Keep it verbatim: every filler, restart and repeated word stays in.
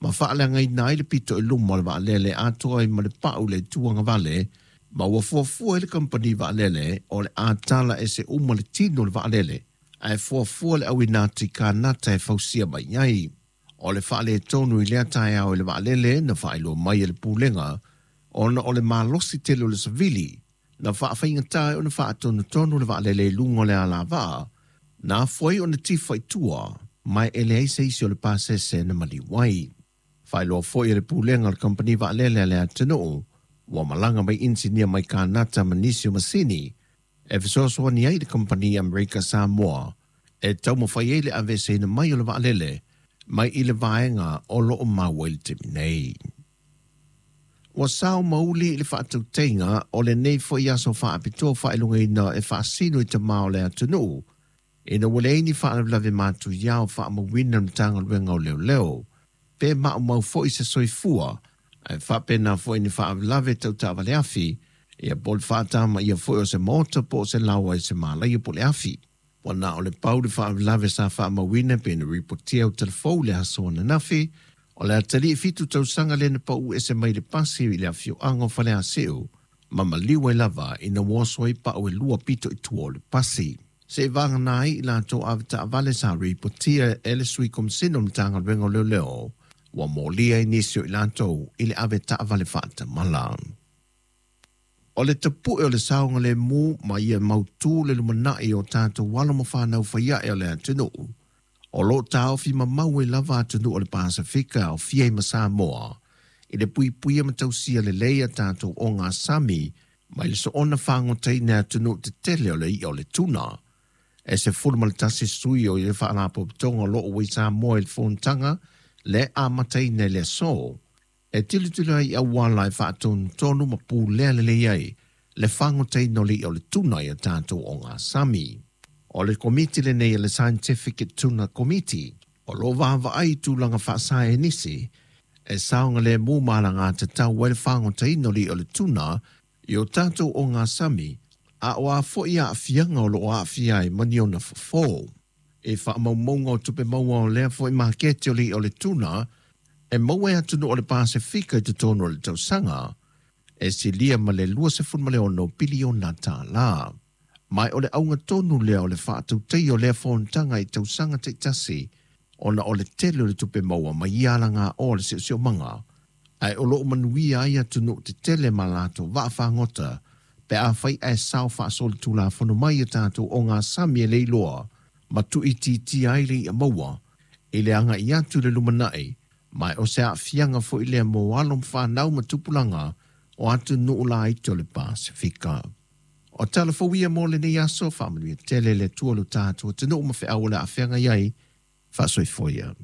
Ma faaleagaina ai le pito i luma o le vaalele atoa ai ma le pau le tuagavale ma ua fuafua i le kampani vaalele o le a tala ese uma le tino o le vaalele ae fuafua le auina atu i Kanata e fausia mai ai. O le faaletonu i lea taeao i le vaalele na faailoa mai e le pulega ona o le malosi tele o le savili na faafaigata ai ona faatonutonu le vaalele i luga o le alavaa na afua ai ona tifa i tua ma e leai se isi o le pasese na maliu ai. Faailoa foi e le pulega o le kampani vaalele a le atunuu ua malaga mai inisinia mai Kanata ma nisi o masini e fesoasoani ai le kampani Amerika Samoa e taumafai ai le aveeseina mai o le vaalele mai i le vaega o loo maua i le taimi nei. Ua sao mauli i le faatautaiga o lenei foi aso faapitoa faailogaina e faasino i tamā o le atunuu ina ua leai ni faalavelave matuia o faamauina le Matagaluega o Leoleo pe maumau foi se soifua ae faapena foi ni faalavelave tau taavale afi ia po o le faatamaia foi o se maota po o se laoa i se malaia po o le afi. Ua na o le pau le faalavelave sa faamauina pe na ripotia o telefou le aso ananafi o le atalii fitu tausaga lea na pau ese mai le pasi i le afioaga o Faleasiu ma maliu ai lava ina ua oso ai pau e lua pito i tua o le pasi. Se vagana ai i latou avetaavale sa ripotia e le sui komisina o le Matagaluega o Leoleo ua molia ai nisi o i latou i le avetaavale faatamala. O le tapue o le saogalemu ma ia mautu le lumanai o tatou alo ma fanau faiae o le atunuu. O loo taofi mamau ai lava atunuu o le Pasefika aofia ai ma Samoa i le puipuia ma tausia lelei a tatou ogasami mai le soona fagotaina e atunuu tetele o le i'a o le tuna. E sefulu ma le tasi sui o le faalapotopotoga o loo ua i Samoa i le fonotaga le amataina i le aso e tilotilo ai i auala e faatonutonu ma pulea lelei ai le fagotaina o le i'a o le tuna i a tatou ogasami. O le komiti lenei o le Scientific Tuna Committee o loo vaavaai i tulaga faasaenisi e saogalemu ma alagatatau ai le fagotaina o le i'a o le tuna i o tatou ogasami a o a foi aafiaga o loo aafia ai ma ni ona fofo. E faamaumauga o tupe maua o lea foi maketi o le i'a o le tuna e maua e atunuu o le Pasefika i totonu o le tausaga e silia ma le luasefulu ma le ono piliona tālā. Mai o le auga tonu lea o le faatautaia o lea fonotaga i tausaga taitasi ona o le tele o le tupe maua mai ia alagaoa o le siosiomaga ae o loo manuia ai atunuu tetele ma latou vaafagota pe afai ae sao faasolitulafono mai a tatou ogasami e leiloa ma tuuitiitia ai le i'a maua i le agai atu i le lumanai ma o se aafiaga foi lea mo alo ma fanau ma tupulaga o atunuu laiti o le Pasefika. O tala fou ia mo lenei aso faamanuia tele le Atua lo tatou atunuu ma feau o le a feagai ai faasoifua ia.